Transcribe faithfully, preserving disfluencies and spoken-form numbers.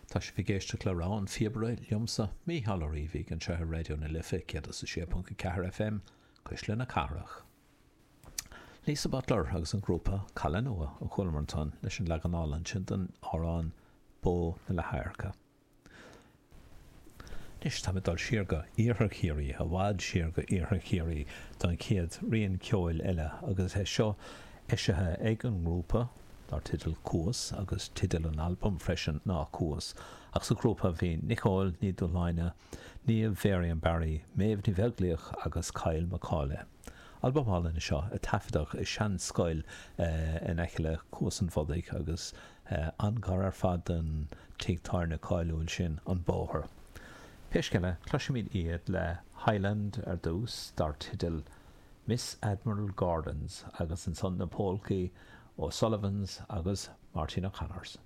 Tá sibh ag éisteacht le Rogha an Phíobaire liomsa, Mícheál Ó Riabhaigh, anseo ar Raidió na Life céad is a sé ponc a ceathair FM, Cuisle na Cathrach. Lisa Butler agus an grúpa Caladh Nua a chualamar ansan leis an leagan álainn sin den amhrán Bó na Leathadhairce. Anois táim ag dul siar go Iarthar Chiarraí, i bhfad siar go Iarthar Chiarraí don chéad rian ceoil eile agus é seo eisithe ag an ngrúpa dar teideal Cuas agus teideal an albaim freisin ná Cuas. Ach sa ghrúpa bhí Nicole Ní Dhúshláine, Niamh Varian Barry, Méabh Ní Bheaglaoich agus Kyle McCauley. Albam álainn é seo a taifeadadh i seanscoil in aice le Cuas an Bhodaigh agus an-ghar ar fad don tigh tábhairne cáiliúil sin, An Bóthar. Pé scéal é, cloisfimid iad le Highland ar dtús dar teideal Miss Admiral Gordon's agus ansan na polcaí O'Sullivan's agus Martin O'Connor's.